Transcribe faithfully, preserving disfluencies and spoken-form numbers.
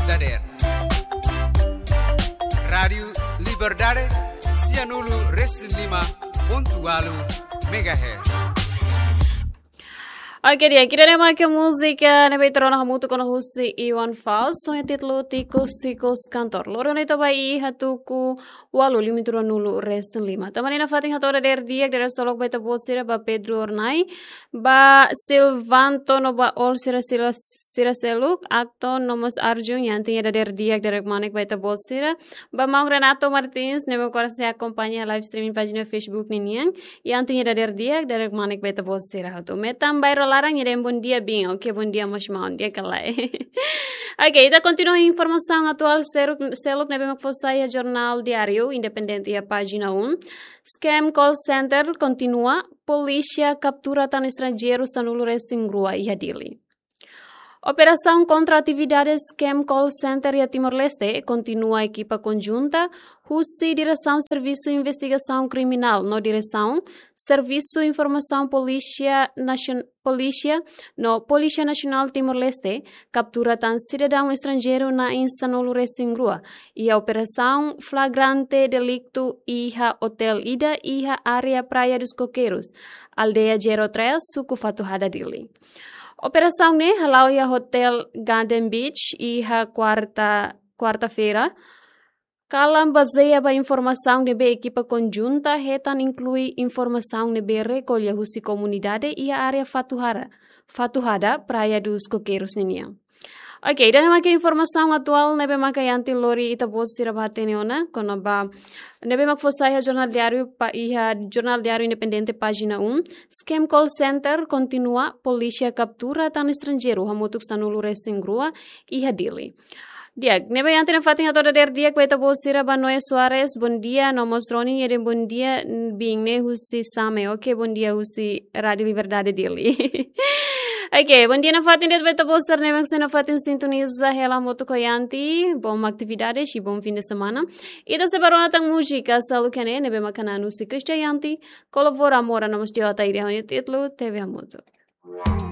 dadeer. Rádiu Liberdade, sianulu resin lima pontu ualu megahertz. Oke, di'ak, ida-ne'e mak múzika ne'ebé ita rona hamutuk ona husi Iwan Fals, ho títulu Tikus Tikus Kantor. Loron ita ba iha tuku ualu limitu ruanulu resin lima. Tanba ne'e nafatin hato'o dadeer di'ak, dadeer solok ba ita-boot sira, ba Pedro Ornai, ba Silvanto no ba Ol sira, sira, sira seluk, Acton no mós Arjun, Yanti, ida dadeer di'ak, dadeer kmanek ba ita-boot sira, ba maun Renato Martins, ne'ebé ko'alia sei akompaña live streaming pájina Facebook ninian, Yanti, ida dadeer di'ak, dadeer kmanek ba ita-boot sira hotu. Metan bairru laran, ida bondia bin, oke, bondia mós maun, di'ak ka lae. Oke, ita kontinua informasaun atuál seluk, seluk ne'ebé mak fó sai iha Jornál Diáriu Independente iha pájina um. Scam call center kontinua, polísia kaptura tan estranjeiru sanulu resin rua iha Dili. Operasaun kontra atividade scam call center iha Timor-Leste kontinua, ekipa konjunta husi Diresaun Servisu Investigasaun Kriminál no Diresaun Servisu Informasaun Polísia Nasion-, Polísia no Polísia Nasionál Timor-Leste kaptura tan sidadaun estranjeiru na'in sanulu resin rua iha operasaun flagrante deliktu iha otél ida iha área Praia dos Coqueiros, aldeia zero três, suku Fatuhada, Dili. Operasaun ne'e hala'o iha Hotel Garden Beach iha kuarta, kuarta-feira. Kalan bazeia ba informasaun ne'ebé ekipa konjunta hetan, inklui informasaun ne'ebé rekolla husi komunidade iha área Fatuhara, Fatuhada, Praia dos Coqueiros ninian. Oke, ida-ne'e mak informasaun atuál ne'ebé maka Yanti lori ita-boot sira ba hatene ona, kona-ba ne'ebé mak fó sai iha Jornál Diáriu pa-, iha Jornál Diáriu Independente pájina um. Scam call center kontinua, polísia kaptura tan estranjeiru hamutuk sanulu resin rua iha Dili. Di'ak, ne'ebé Yanti nafatin hato'o dadeer di'ak ba ita-boot sira, ba Noé Soares, bondia, no mós Roni, ida bondia, bin ne'e husi Same, oke, bondia husi Rádiu Liberdade Dili. Oke, bondia nafatin de'it ba ita-boot sira ne'ebé sei nafatin sintoniza hela hamutuk ho Yanti, bom atividade, i bom fim de semana. Ita sei bá rona tan múzika, seluk iha ne'e, ne'ebé maka na'an husi Christian Yanti, Kolobora Mora no mós Diota Ide, ho nia títulu Tebe Hamutuk.